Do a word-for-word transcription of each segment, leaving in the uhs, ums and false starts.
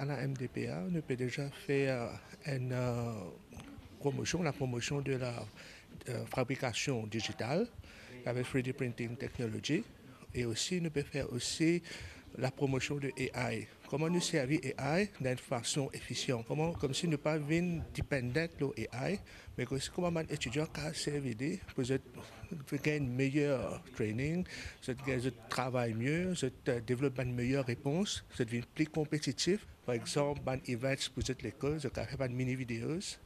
À la M D P A, nou pe deza fer enn, euh, promotion, la promotion de la, euh, fabrication digitale avec three D printing technology. E osi, nou pe fer osi la promotion de A I. Kouma nou servi A I dan enn fason efisyan. Kouma, koumsi nou pa vinn dependent lor A I, me osi kouma bann etidian kapav servi li pou zot, pou gagn meyer training, zot gagn, zot travay mie, zot, euh, devlop bann meyer repons, zot vinn pli konpetitif. Par exanp, bann events pou zot lekol, zot kapav fer bann mini videos,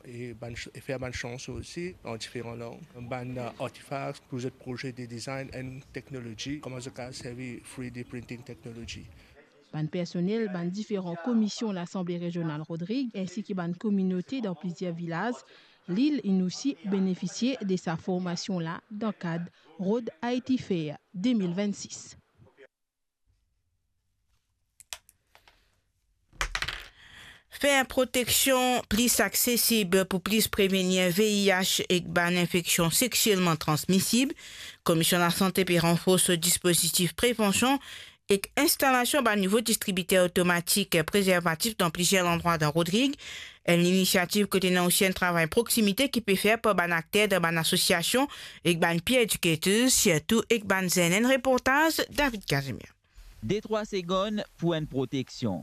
e bann ch-, e fer bann chanson osi an diferan lang, bann, euh, artifacts pou zot proze de design and technology, kouma zot kapav servi three D printing technology. Bann personel bann diferan komision Lasanble Rezional Rodrig, ensi ki bann kominote dan plizier vilaz lil, inn osi benefisie de sa formasion la dan kad Rhode I T Fair de mil vennsis. Fer proteksion plis aksesib pou plis prevenir V I H ek bann infeksion sexielman transmisib. Komision Lasante pe ranfors so dispozitif prevansion ek instalasion bann nouvo distribiter otomatik prezervatif dan plizier landrwa dan Rodrig. Enn linisiativ kot ena osi enn travay proksimite ki pe fer par bann akter dan bann asosiasion ek bann peer educators, sirtou ek bann zenn. Enn reportaz David Casimir. Detrwa segonn pou enn proteksion.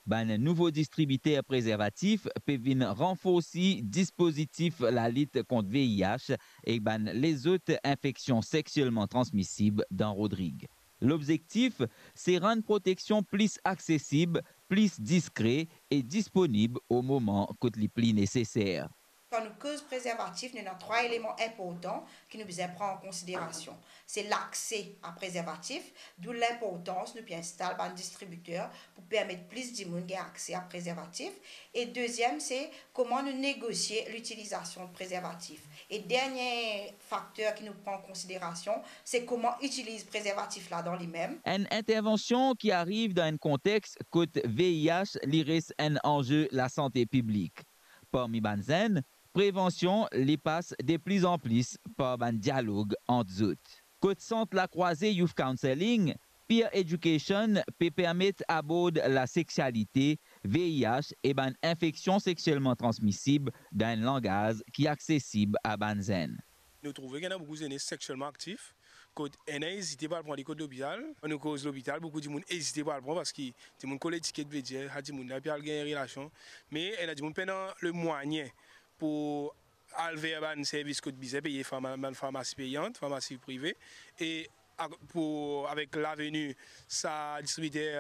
Bann nouvo distribiter prezervatif pe vinn ranforsi dispozitif lalit kont V I H ek bann lezot infeksion sexielman transmisib dan Rodrig. Lobzektif, se rann proteksion plis aksesib, plis diskre e disponib o moman kot li pli neseser. Kan nou koz prezervatif, nou ena trwa eleman inportan ki nou bizin pran an konsiderasion. Se lakse a prezervatif, dou linportans nou pe instal bann distribiter pou permet plis dimoun gagn akse a prezervatif. E deziem, se kouma nou negosie litilizasion prezervatif. E dernie fakter ki nou pran an konsiderasion, se kouma itiliz prezervatif la dan limem. Enn intervansion ki ariv dan enn kontex kot V I H li res enn anze lasante piblik. Parmi bann zenn, prevansion li pas deplizanplis par bann dialog ant zot. Kot sant Lakrwaze Youth Counselling, Peer Education pe permet abord lasexialite, V I H e bann infeksion sexielman transmisib dan enn langaz ki aksesib a bann zenn. Nou trouve ki ena boukou zenes sexielman aktif, kot ena ezite pou al pran li kot lopital. Nou koz lopital, boukou dimoun ezite pou al pran, parski dimoun kol etiket, vedir sa dimoun la pe al gagn relasion. Me ena dimoun pena lemwayin pou al ver bann servis kot bizin peye, farma-, bann farmasi peyant, farmasi prive. E a-, pou, avek laveni sa distribiter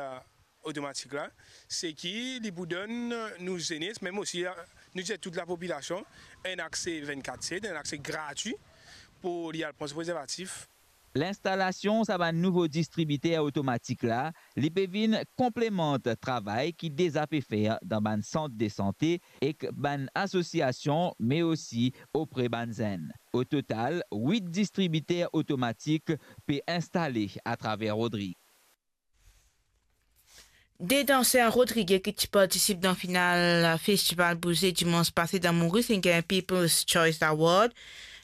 otomatik la, se ki li pou donn nou zenes, mem osi, nou dir tout lapopilasion, enn akse vennkat set, enn akse gratwi pou li al pran so prezervatif. Linstalasion sa bann nouvo distribiter otomatik la, li pe vinn konplemant travay ki deza pe fer dan bann sant de sante ek bann asosiasion, me osi opre bann zenn. O total, wit distribiter otomatik pe instale atraver Rodrig. De danser rodrigye ki ti partisip dan final Festival Bouze dimans pase dan Moris inn gagn People's Choice Award.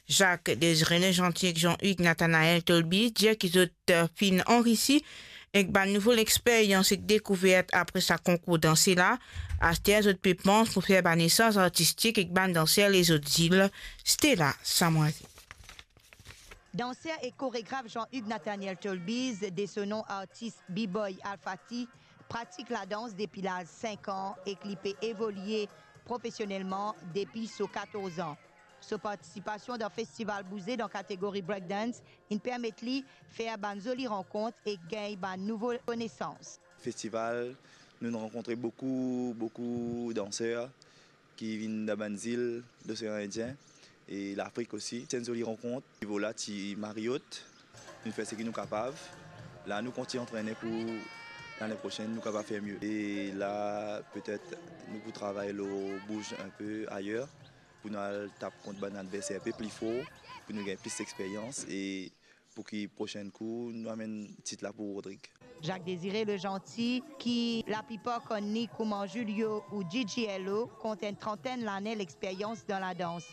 Jacques Désiré Legentil ek Jean-Hugues Nathanaël Tolbiz dir ki zot, eh, finn anrisi ek bann nouvo lexperyans ek dekouvert apre sa konkour danse la. Aster zot pe pans pou fer bann esanz artistik ek bann danser lezot zil. Stella Samoise. Danser e koregraf Jean-Hugues Nathaniel Tolbiz, de so nom artis B-Boy Alfati, pratik ladans depi laz sink an ek li pe evolie profesionelman depi so katorz an. So partisipasion dan Festival Bouze dan kategori breakdance inn permet li fer bann zoli rankont ek gagn bann nouvo konesans. Festival, nou rankontre boukou, boukou danser ki vinn dan bann zil Losean Indien e Lafrik osi. Ti enn zoli rankont. Nivo la ti mari ot. Nou fer seki nou kapav. La nou kontign antrene pou lane prosenn nou kapav fer mie. E la petet nou pou travay lor bouz enpe ayer pou nou al tap kont bann adverser enpe pli for, pou nou gagn plis lexperyans e pou ki prosenn kou nou amenn tit la pou Rodrig. Jacques Désiré Legentil, ki laplipar konn li kouma Julio ou G G L O, kont enn trantenn lane lexperyans dan ladans.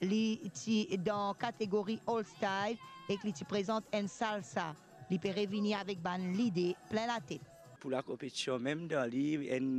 Li ti dan kategori Old Style ek li ti prezant enn salsa. Li pe revini avek bann lide plin latet. Pou lakonpetision mem dan li, enn